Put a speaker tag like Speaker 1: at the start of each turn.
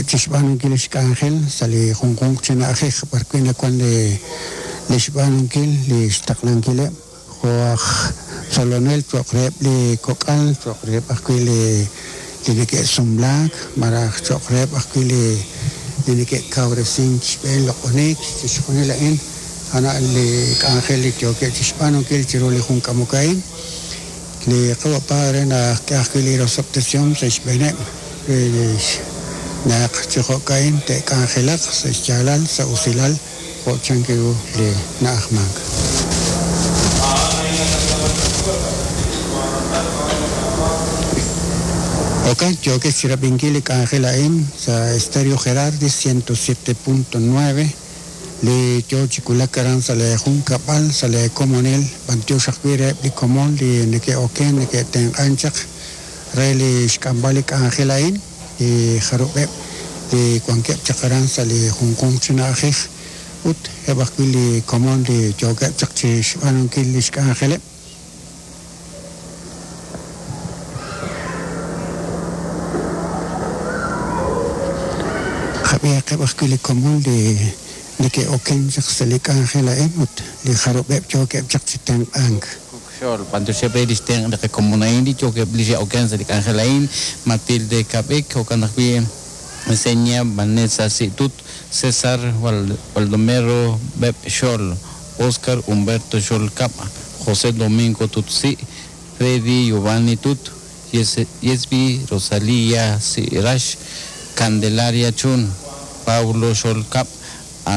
Speaker 1: yookeb' chixb'aanunkil lix k'anjel sa' li junjunq chi na'ajej b'ar wi' nawan li lix b'aanunkil lix taqlankileb' jo' aj tzolonel cho'q reheb' li kok'al, cho'q reheb' ajwi' li li neke'sumlaak, malaj cho'q reheb' ajwi' li li neke'kawresink xb'een loq'oniik, chixjunil a'in a'an li k'anjel li yookeb' chixb'aanunkil chiru li jun k'amok a'in. Li Qawa' Padre naxk'e ajwi' li rosob'tesihom sa' xb'eeneb' re naq chi jo'ka'in te'k'anjelaq sa' xyaalal, sa' usilal, jo' chank ru li na'ajmank. Jo'kan, yookex chi rab'inkil li k'anjel a'in sa' Estéreo Gerardi 107.9, li yoo chi wulak aran sa' lee junkab'al, sa' lee komonil, b'antiox ajwi' reheb' li komon li neke'oken, neke'tenq'an chaq re li xk'amb'al li k'anjel a'in, li jarub'eb' li wankeb' chaq aran sa' li junjunq chi na'ajej ut eb' ajwi' li komon li yookeb' chaq chi xb'aanunkil li xk'anjeleb'. Qab'ihaqeb' ajwi' li komon li neke'oken chaq sa' li k'anjel a'in ut li jarub'eb' yookeb' chaq chi tenq'ank.
Speaker 2: Xol, b'antioxeb' re lix tenq' li qakomon a'in li yookeb' li xe'oken sa' li k'anjel a'in, Matilde Kab'ik, jo'kan ajwi' Senia Vanessa Si'tut, César Baldomero Beb' Xol, Oscar Humberto Xol Kab', José Domingo Tut Si', Freddy Giovanni Tut, Yesby Rosalía Si'rax, Candelaria Chun, Pablo Xol Kab'.